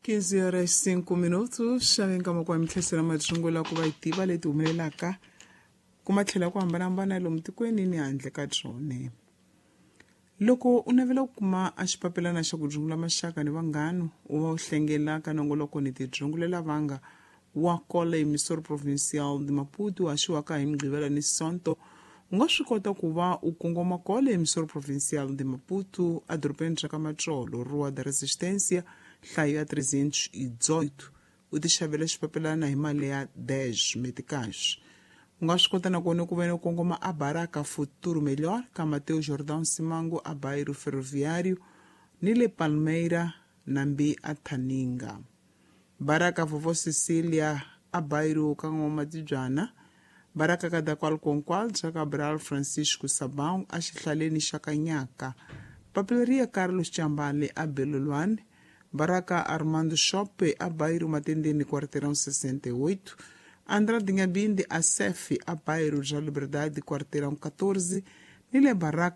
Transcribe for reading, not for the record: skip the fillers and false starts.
15 horas 5 minutos, xaveni ka makuwa mintlhesela madzungu la ku va yi tiva leti humelelaka kuma tlhela ku hambanahambana lomu tikweni ni handle ka byone. Loko u navela ku kuma a xipapilana xa ku dzungula maxaka ni vanghanu u va u hlengela ka nongoloko ni tidzungulela vanga wa kola emissor provincial de Maputo haxiwaka hi Mugqivela ni Sonto, u nga swi kota ku va u kongoma kola emissor provincial de Maputo edorobeni ra ka Matsolo, Rua da Resistência, nhlayo ya 318, u tixavela xipapilana hi mali ya 10 meticais. U nga swi kota nakona ku ve ni u kongoma a Baraka Futuro Melhor ka Mateo Jordão Simango a Bairro Ferroviário ni le Palmeira nambi a Thaninga. Baraka Vovó Cecília a Bairro ka N'wamatibyana, Baraka Kadakwal Konkwal bya Cabral Francisco Sabão a xihlaleni xa Kanyaka, Papeleria Carlos Chambale a Belolwane, Baraka Armando Shope a Bairro Matendeni quarteirão 68, Andrade Nhabinde a Sef a Bairro já Liberdade quarteirão 14, ni le Baraka